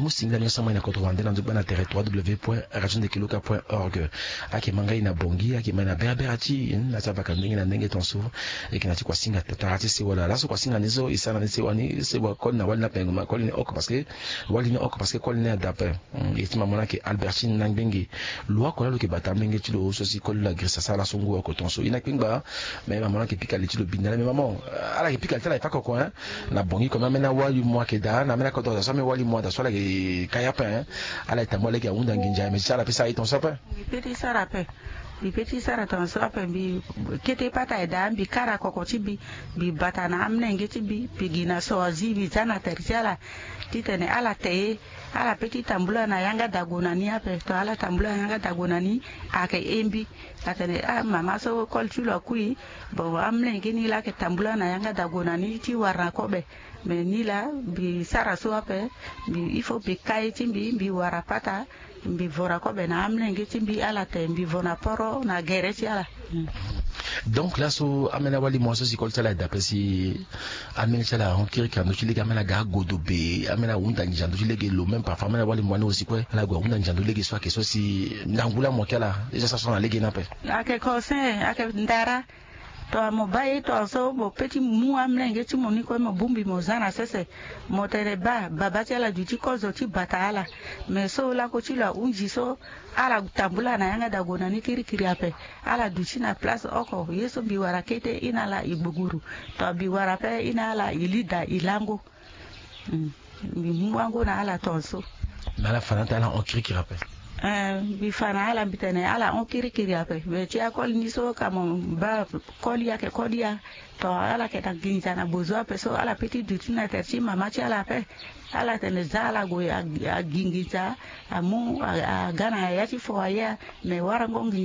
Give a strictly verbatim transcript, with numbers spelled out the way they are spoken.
Mu singila ni so amai na kodro wande na nzogba na tere trois w point radio ndeke luka point org. Ayeke ma ngai na bongi, ayeke ma na berabera ti na ti abaka ndenge na ndenge tonso. Eke na ti kua singa tatara ti sewa laa laso kua singa ni so e sara na ni sewa ni sewa koli na wali ni ape ngu ma koli ni oko parce que wali ni oko parce que koli ni ada ape. Ye ti ma mo na yeke Albertine na ngbenge. Lo oko laa lo yeke bata amolenge ti lo so si koli lo agrisa sara laso ngu oko tonso e na kpengba. Mais ma mo na yeke pika li ti lo bini na ala mais ma mo ala yeke pika li ti ala e fa koko hein. Na bongi comme ameni awali mo ayeke daa na ameni akodro daa so ameni wali mo ada so ala yeke kai ape hein. Ala yeke tambula lege ahunda nginza mais ti ala pe sara ye tonso ape. Mbi pe ti sara ape. Mbi pe ti sara tonso ape mbi kete pata e daa mbi kara koko ti mbi. Mbi bata na amolenge ti mbi mbi gi na so azi mbi za na tere ti ala. Titene ala te ye. Ala pe ti tambula na yanga dago na ni ape to ala tambula na yanga dago na ni. Ayeke ye mbi. Atene ah mama so koli ti lo akui. Bon amolenge ni laa ayeke tambula na yanga dago na ni ti wara na kobe. Mais ni laa mbi sara so ape. Mbi il faut mbi kai ti mbi mbi wara pata. Mbi vo na kobe na amolenge ti mbi ala te mbi vo na poro na gere ti ala. Donc laso ameni awali mo so si koli ti ala eda ape si ameni ti ala ahon kirikiri na ndö ti lege ameni aga agodo be ameni ahunda nginza na ndö ti lege lo même parfois ameni awali mo wani aussi kue ala gue ahunda nginza na ndö ti lege so ayeke so si ndangu laa mo yeke ala. Eza sara so na lege ni ape. Ayeke conseil ayeke ndara. To mo baa ye tongaso mo pe ti mu amolenge ti mo ni kue mo bongbi mo za na sese. Mo tene baa baba ti ala duti kozo ti bata ala. Mais so lako ti lo ahunzi so ala tambula na yanga dago na ni kirikiri ape. Ala duti na place oko ye so mbi wara kete e na ala e gbuguru. To mbi wara pe e na ala e li daa e lango. Mbi mu wango na ala tongaso. Mais ala fa na ata ala hon kirikiri ape. Eh, mbi fa na ala mbi tene ala hon kirikiri ape mais ti akoli ni so ka mo baa koli ayeke koli ya. To ala yeke na nginza na bozo ape so ala pe ti duti na tere ti mama ti ala ape. Ala tene za ala gue agi nginza. Amu aga na ya ti fo aye. Mais warango nginza.